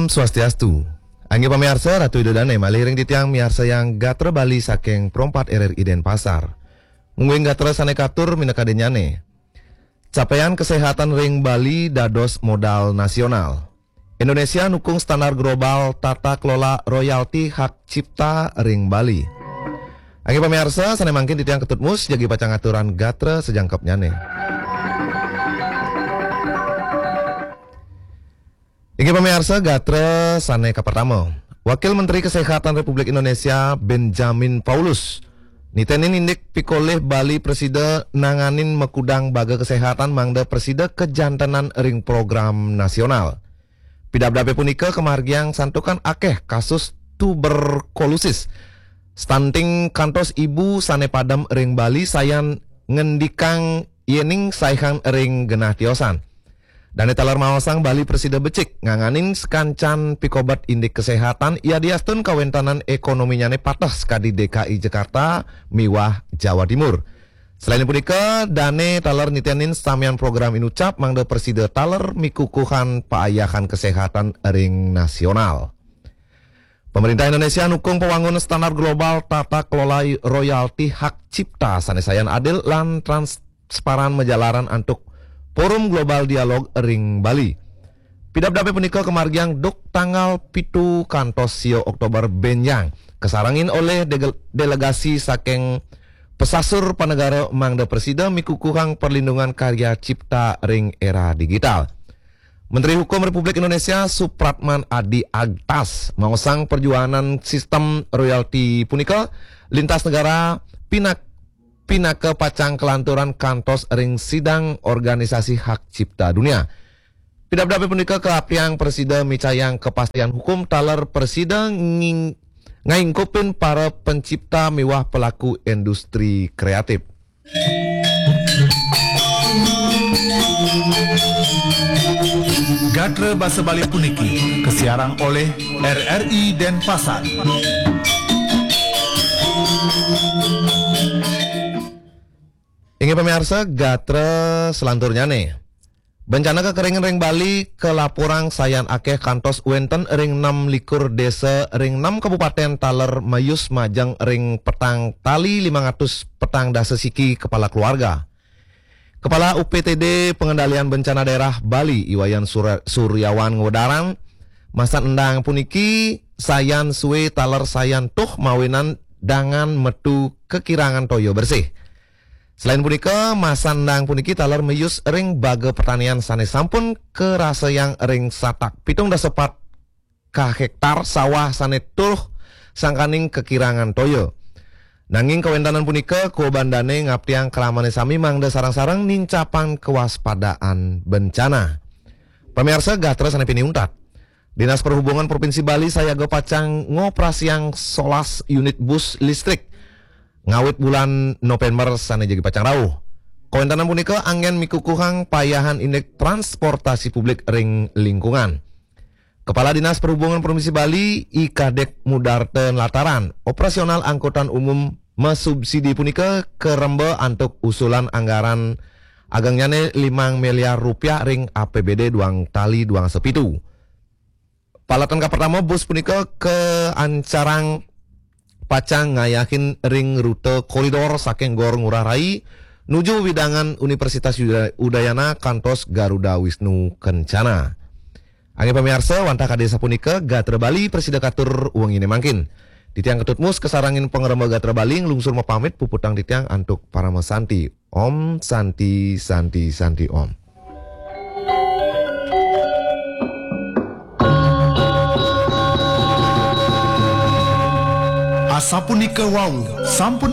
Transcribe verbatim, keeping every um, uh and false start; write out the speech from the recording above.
Swastiastu. Inggih pamiarsa, Ratu Ida Dane malih ring titiang miarsayang gatra Bali saking Pro empat R R I Denpasar. Mungguing gatra sane katur minakadinnyane. Capaian kesehatan ring Bali dados modal nasional. Indonesia nukung standar global tata kelola royalti hak cipta ring Bali. Inggih pamiarsa, sane mangkin titiang Ketut Mus jagi pacang aturang gatra sajangkepnyane. Inggih pamiarsa, gatra sane kapertama. Wakil Menteri Kesehatan Republik Indonesia Benjamin Paulus nitenin indik pikolih Bali prasida nanganin makudang baga kesehatan mangda prasida kajantenan ring program nasional. Pidabdabe punika kamargiang santukan akeh kasus tuberkulosis, stunting kantos ibu sane padem ring Bali sayan ngendikang yening saihang ring genah tiosan. Dane taler maosang Bali prasida becik nganganin sakancan pikobet indik kesehatan yadiastun kawentanan ekonominyane pateh sakadi D K I Jakarta miwah Jawa Timur. Selain punika, dane taler nitenin samian program inucap mangda prasida taler mikukuhan paayahan kesehatan ring nasional. Pemerintah Indonesia nukung pawangun standar global tata kelola royalti hak cipta sane sayan adil lan transparan majalaran antuk Forum Global Dialog ring Bali. Pidabdabe punika kamargiang duk tanggal pitu kantos sia Oktober benjang, kasarengin olih degel-, delegasi saking pesasur panegara mangda prasida mikukuhang perlindungan karya cipta ring era digital. Menteri Hukum Republik Indonesia Supratman Adi Agtas maosang perjuangan sistem royalti punika lintas negara pinak-, pinaka pacang kalanturan kantos ring sidang Organisasi Hak Cipta Dunia. Pidabdabe punika kaaptiang prasida micayang kepastian hukum taler prasida nging-, ngaingkupin para pencipta miwah pelaku industri kreatif. Gatra basa Bali puniki kasiarang olih R R I Denpasar. Inggih pamiarsa, gatra selanturnyane. Bencana kekeringan ring Bali kalaporang sayan akeh kantos wenten ring enam likur desa ring enam kabupaten taler mayus majeng ring petang tali limang atus petang dasa siki kepala keluarga. Kepala U P T D Pengendalian Bencana Daerah Bali, I Wayan Sura-, Suryawan ngwedarang, masan endang puniki sayan sue taler sayan tuh mawinan dangan metu kekirangan toya bersih. Selain punika, masan endang puniki taler mayus ring baga pertanian sane sampun karasayang ring satak pitung dasa pat ka hektar sawah sane tuh sangkaning kekirangan toya. Nanging kawentanan punika kuoban dane ngaptiang kramane sami mangda sareng-sareng nincapang kewaspadaan bencana. Pamiarsa, gatra sane pinih untat. Dinas Perhubungan Provinsi Bali sayaga pacang ngoperasiang solas unit bus listrik ngawit bulan November sane jagi pacang rauh. Kawentanan punika anggen mikukuhang payahan indik transportasi publik ring lingkungan. Kepala Dinas Perhubungan Provinsi Bali, I Kadek Mudarta nlataran, operasional angkutan umum masubsidi punika karemba antuk usulan anggaran agengnyane limang miliar rupiah ring A P B D duang tali duang sepitu. Paletan kapertama bus punika kaancarang pacang ngayahin ring rute koridor saking Gor Ngurah Rai nuju wewidangan Universitas Uda-, Udayana kantos Garuda Wisnu Kencana. Inggih pamiarsa, wantah kadi sapunika gatra Bali prasida katur wengine mangkin. Titiang Ketut Mus kasarengin pangremba gatra Bali nglungsur mapamit, puputang titiang antuk parama santi. Om Santi, Santi, Santi, Om. Asapunika wau sampun